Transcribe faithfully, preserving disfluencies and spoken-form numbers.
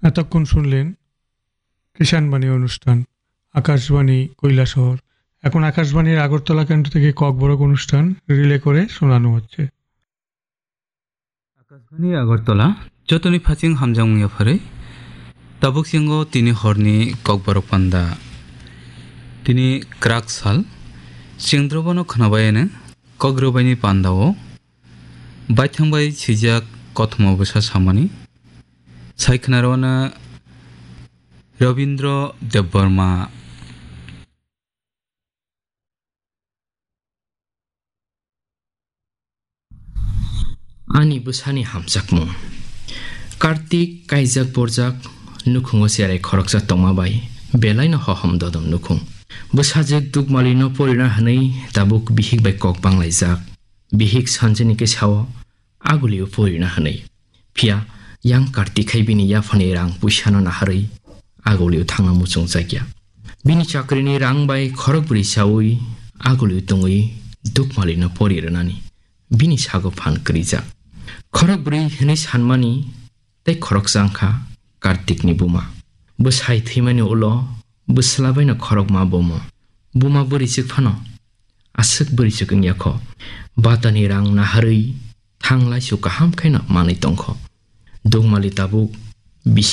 এতক্ষণ শুনলেন কিষাণবাণী অনুষ্ঠান, আকাশবাণী কৈলাসহর। এখন আকাশবাণীর আগরতলা কেন্দ্র থেকে ককবরক অনুষ্ঠান রিলে করে শোনানো হচ্ছে। Akashbani Agartala, jotoni phaching hamjakmung yapharwi. Tabuk singo tini horni kokborok panda. Tini kwrak sal, chwng drobono khwnabaino kok rwbaini pandao baithang bai swijak kothoma bwsa samani. Sai khwnarwano Rabindra Debbarma. Ani bwsani hamjakmung. Kartik kaijak borjak nukhungo cherai khoroksa tongma bai belaino hohom dodom nukhung. Bwsajwk Dukmalino porina hwnwi tabuk bihik bai kok banglaijak. Bihik sanjini khe sao, "Agulio porina," hwnwi. Phiya yang Kartik hai bini yaphani rang puisano naharwi agulio thangna muchungjakya. Bini chakrini rang bai khorokbrwi chaui agulio tongwi Dukmalino pori rwnani bini sago phan kwrwijak. Khorokbrwi hwnwi sanmani tei khoroksa wngkha Kartikni buma. Bwsai thwimani ulo bwsla baino khorokma bomo. Buma bwrwichwk phano aswk bwrwichwk wngya kho. Batani rang naharwi thanglaisu kaham khaino manwi tongkho. Dukmali tabuk bisi